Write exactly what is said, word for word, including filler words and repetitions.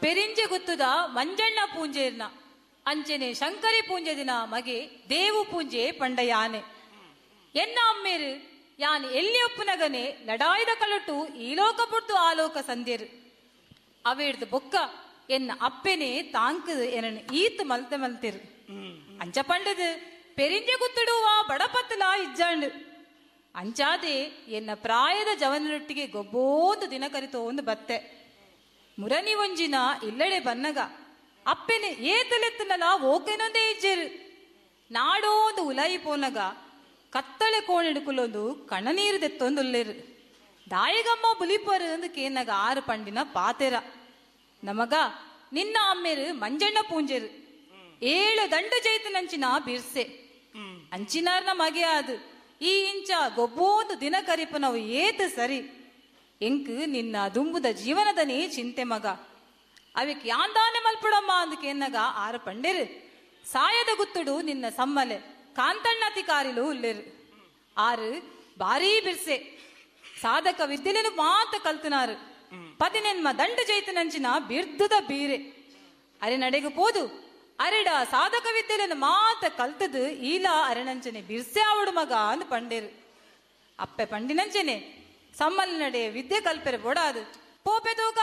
ಪೆರಿಂಜೆ ಗುತ್ತುದ ಮಂಜಣ್ಣ ಪೂಂಜೆರ್ನ ಅಂಚನೆ ಶಂಕರಿ ಪೂಂಜೆ ದಿನ ಮಗೆ ದೇವು ಪೂಂಜೆ ಪಂಡ ಯಾನೆ. ಎನ್ನ ಅಮ್ಮೇರು ಯಾನ್ ಎಲ್ಲಿ ಒಪ್ಪುನಗನೆ ಲಡಾಯ್ದ ಕಲಟು ಈ ಲೋಕ ಪುಡ್ದು ಆಲೋಕ ಸಂದ್ಯರು. ಅವೇಡ್ದು ಬೊಕ್ಕ ಎನ್ನ ಅಪ್ಪೆನೆ ತಾಂಕ್ ಎನನ್ ಈತ್ ಮಲ್ತೆ ಮಲ್ತಿರು. ಅಂಚ ಪಂಡದು ಪೆರಿಂಜೆ ಗುತ್ತುಡುವ ಬಡಪತ್ತಲ ಇಜ್ಜಾಂಡು. ಅಂಚಾದೆ ಎನ್ನ ಪ್ರಾಯದ ಜವನರೊಟ್ಟಿಗೆ ಗೊಬ್ಬೋಂದು ದಿನ ಕರಿತೋ ಒಂದು ಬತ್ತೆ. ಮುರನಿ ಒಂಜಿನ ಇಲ್ಲಡೆ ಬನ್ನಗ ಅಪ್ಪೆನೆ ಏತಲೆತ್ತನಲ ಓಕೆನೊಂದೇ ಇಜ್ಜೆರು. ನಾಡೋ ಒಂದು ಉಲಾಯಿ ಪೋನಗ ಕತ್ತಳೆ ಕೋಣಿಡುಕುಲೊಂದು ಕಣ್ಣನೀರು ದೆತ್ತೊಂದುಲ್ಲೇರು. ದಾಯಿಗಮ್ಮ ಬುಲಿಪರು ಅಂದು ಕೇನಗ ಆರು ಪಂಡಿನ ಪಾತೆರ. ನಮಗ ನಿನ್ನ ಅಮ್ಮೇರು ಮಂಜಣ್ಣ ಪೂಂಜೆರು ಏಳು ದಂಡು ಜೈತನಂಚಿನ ಬಿರ್ಸೆ ಅಂಚಿನಾರ್ನ ಮಗೆ ಅದು ಈ ಇಂಚ ಗೊಬ್ಬೋಂದು ದಿನ ಕರಿಪನವು ಏತು ಸರಿ. ಎಂಕ್ ನಿನ್ನ ದುಂಬುದ ಜೀವನದನೇ ಚಿಂತೆ ಮಗ. ಅವಿಕ್ ಯಾಂದಾನೆ ಮಲ್ಪುಡಮ್ಮ ಅಂದ್ ಕೇನ್ನಗ ಆರು ಪಂಡೆರು ಸಾಯದ ಗುತ್ತುಡು ನಿನ್ನ ಸಮ್ಮಲೆ ಕಾಂತಣ್ಣತಿಕಾರಿಲು ಉಲ್ಲೆರು. ಆರು ಭಾರೀ ಬಿರ್ಸೆ ಸಾಧಕ ವಿದ್ಯೆలను ಮಾತ ಕಲ್ತನಾರು. ಪದಿನೆನ್ಮ ದಂಡು ಜೈತನಂಚಿನ ಬಿರ್ದುದ ಬೀರೆ ಅರೆ ನಡೆಗು ಪೋದು ಅರೆಡ ಸಾಧಕ ವಿದ್ಯೆలను ಮಾತ ಕಲ್ತದು ಈಲ ಅರೆನಂಚನೆ ಬಿರ್ಸೆ ಆವಡು ಮಗ ಅಂದ್ ಪಂಡೇರು. ಅಪ್ಪೆ ಪಂಡಿನಂಚನೆ ಸಮ್ಮಲ್ ನಡೆ ವಿದ್ಯೆ ಕಲ್ಪೆರೆ ಬೋಡಾದು ಪೋಪೆ ತೂಕ.